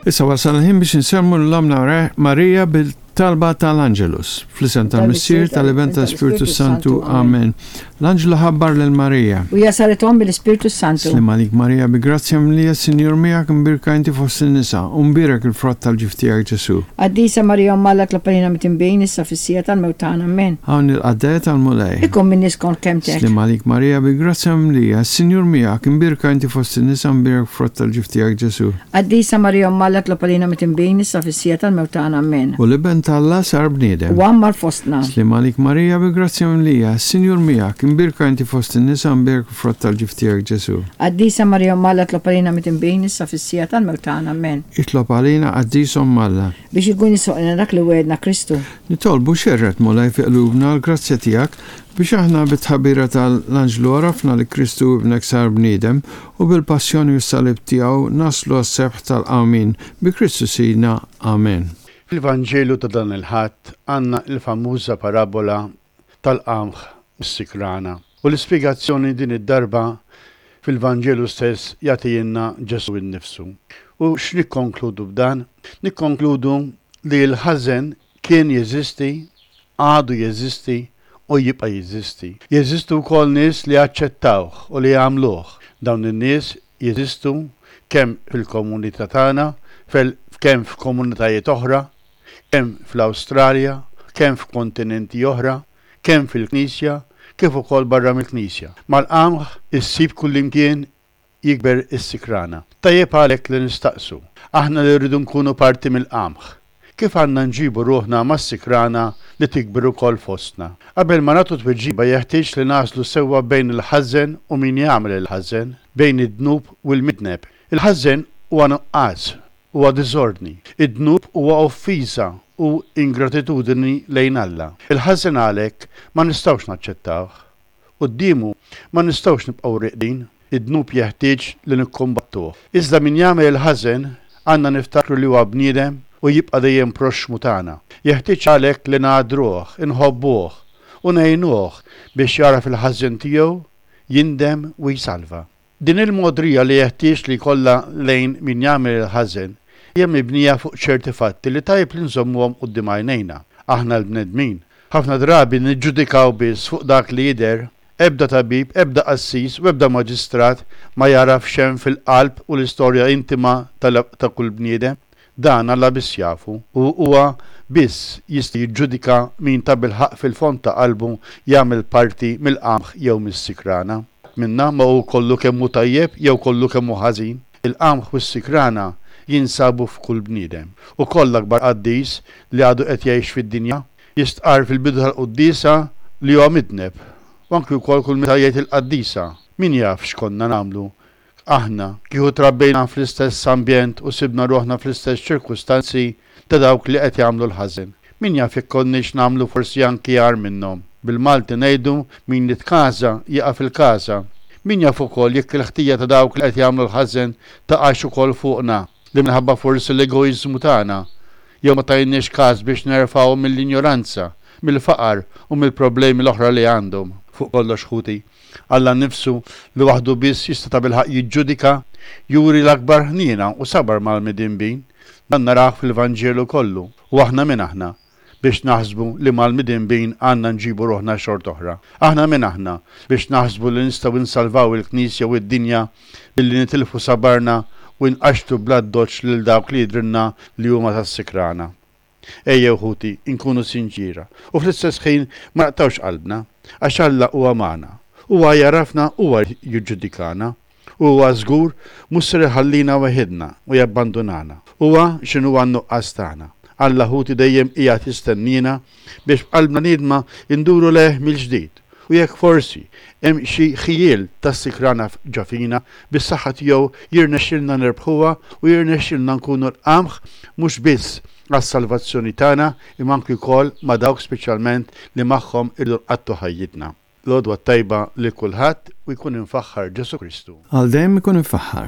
Issa wasal il-ħin biex insellmu lil Ommna Marija bil-talba tal-Angelus. Fl-isem tal-Missier, tal-Iben, tal-Ispirtu Santu. Amen. L-anġlu ħabbar lil Marija. U hija saret omm bil-Ispirtu s-Santu. Sliem għalik Marija, bi grazzja mimlija, s-Sinjur miegħek, imbierka inti fost in-nisa, u mbierek il-frott tal-ġuf tiegħek Ġesù. Qaddisa Marija Omm Alla tlob għalina mitinbin, issa fis-siegħa tal-mewt tagħna. Amen. Hawn il-qaddejja tal-Mulej. Ikun minni skont kelmtek. Sliem għalik Marija, bi grazzja mimlija, s-Sinjur miegħek, imbierka inti fost in-nisa, u mbierek il-frott tal-ġuf tiegħek Ġesù. Qaddisa Marija Omm Alla tlob għalina mitinbin, issa fis-siegħa tal-mewt tagħna. Amen. U l-Iben t'Alla sar bniedem. U għammar fostna. Sliem għalik Marija bi grazzja mimlija, is-Sinjur miegħek, imbierka inti fost in-nisa u mbierek il-frott tal-ġuf tiegħek Ġesù. Qaddisa Marija Omm Alla tlob għalina mitinbin, issa fis-siegħa tal-mewt tagħna. Amen. Itlob għalina Qaddisa Omm Alla. Biex ikun jisħoqilna dak li wegħedna Kristu. Nitolbu xerred Mulej fi qlubna l-grazzja tiegħek biex aħna bit-tħabbira ta' l-anġlu għarafna li Kristu Ibnek sar bniedem u bil-passjoni u s-salib tiegħu naslu għas-sebħ tal-qawmien bi Kristu Sidna. Amen. Fil-Vanġelu ta' dan il-Ħadd għandna l-famuża parabola tal-qamħ u s-sikrana. U l-ispjegazzjoni din id-darba fil-Vanġelu stess jagħtihielna Ġesù nnifsu. U x'nikkonkludu b'dan? Nikkonkludu li l-ħażen kien jeżisti, għadu jeżisti u jibqa' jeżisti. Jeżistu wkoll nies li aċċettawh u li għamluh. Dawn in-nies jeżistu kemm fil-komunità tagħna, kemm f'komunitajiet oħra, kemm fl-Awstralja, kemm f'kontinenti oħra, kemm fil-Knisja, kif ukoll barra mill-Knisja. Mal-qamħ issib kullimkien jikber is-sikrana. Tajjeb għalhekk li nistaqsu, aħna li rridu nkunu parti mill-qamħ, kif għandna nġibu ruħna mas-sikrana li tikber ukoll fostna? Qabel ma nagħtu tweġiba jeħtieġ li nagħżlu sewwa bejn il-ħażen u min jagħmel il-ħażen, bejn id-dnub u l-midneb. Il-ħażen huwa nuqqas, huwa diżordni. Id-dnub huwa offiża u ingratitudni lejn Alla. Il-ħażen għalhekk ma nistgħux naċċettawh. Quddiemu ma nistgħux nibqgħu rieqdin, id-dnub jeħtieġ li nikkumbattuh. Iżda min jagħmel il-ħażen, għandna niftakru li huwa bniedem u jibqa' dejjem proxxmu tagħna. Jeħtieġ għalhekk li nagħdruh, inħobbuh, u ngħinuh biex jagħraf il-ħażen tiegħu, jindem u jsalva. Din il-mogħdrija li jeħtieġ li jkollha lejn min jagħmel il-ħażen hija mibnija fuq ċerti fatti li tajjeb li nżommuhom quddiem għajnejna. Aħna l-bnedmin, ħafna drabi niġġudikaw biss fuq dak li jidher. Ebda tabib, ebda qassis u ebda maġistrat ma jagħraf x'hemm fil-qalb u l-istorja intima ta' kull bniedem. Dan Alla biss jafu, u huwa biss jista' jiġġudika min tabilħaqq fil-fond ta' qalbu jagħmel parti mill-qamħ jew mis-sikrana. Ħadd minna ma hu kollu kemm hu tajjeb jew kollu kemm hu ħażin. Il-qamħ u s-sikrana jinsabu f'kull bniedem. Ukoll l-akbar qaddis li għadu qed jgħix fid-dinja, jistqarr fil-bidu tal-quddiesa li huwa midneb, u anki wkoll kull meta jgħid il-qaddisa. Min jaf x'konna nagħmlu Aħna, kieku trabbejna fl-istess ambjent u sibna ruħna fl-istess ċirkustanzi ta' dawk li qed jagħmlu l-ħażen, min jaf jekk konniex nagħmlu forsi anki agħar minnhom. Bil-Malti ngħidu min jitkaża jaqa' fil-każa. Min jaf ukoll jekk il-ħtija ta' dawk li qed jagħmlu l-ħażen taqax ukoll fuqna, li minħabba forsi l-egoiżmu tagħna, jew ma tajniex kas biex nerfgħuhom mill-injoranza, mill-faqar u mill-problemi l-oħra li għandhom. Fuq kollox ħuti, Alla nnifsu, li waħdu biss jista' tabilħaqq jiġġudika, juri l-akbar ħniena u sabar mal-midinbin. Dan narawh fil-Vanġelu kollu. U aħna min aħna biex naħsbu li mal-midinbin għandna nġibu ruħna xort'oħra? Aħna min aħna biex naħsbu li nistgħu nsalvaw il-Knisja u d-dinja billi nitilfu sabarna u nqaxxtu bl-addoċċ lil dawk li jidhrilna li huma tas-sikrana? Ejjew ħuti, inkunu sinċiera u fl-istess ħin ma naqtgħux qalbna, għax Alla huwa magħna. Huwa jagħrafna, huwa jiġġudikana. U huwa żgur mhux ser iħallina weħidna u jabbandunana. Huwa x'inhuwa n-nuqqas tagħna. Alla ħuti dejjem qiegħed jistenniena biex b'qalbna niedma nduru lejh mill-ġdid. U jekk forsi hemm xi ħjiel ta' sikrana ġo fina, bis-saħħa tiegħu jirnexxilna nirbħuha u jirnexxilna nkunu l-qamħ mhux biss għas-salvazzjoni tagħna imma anki wkoll ma' dawk speċjalment li magħhom irridu nqattgħu ħajjitna. L-għodwa t-tajba lil kulħadd u jkun imfaħħar Ġesù Kristu. Għal dejjem ikun imfaħħar.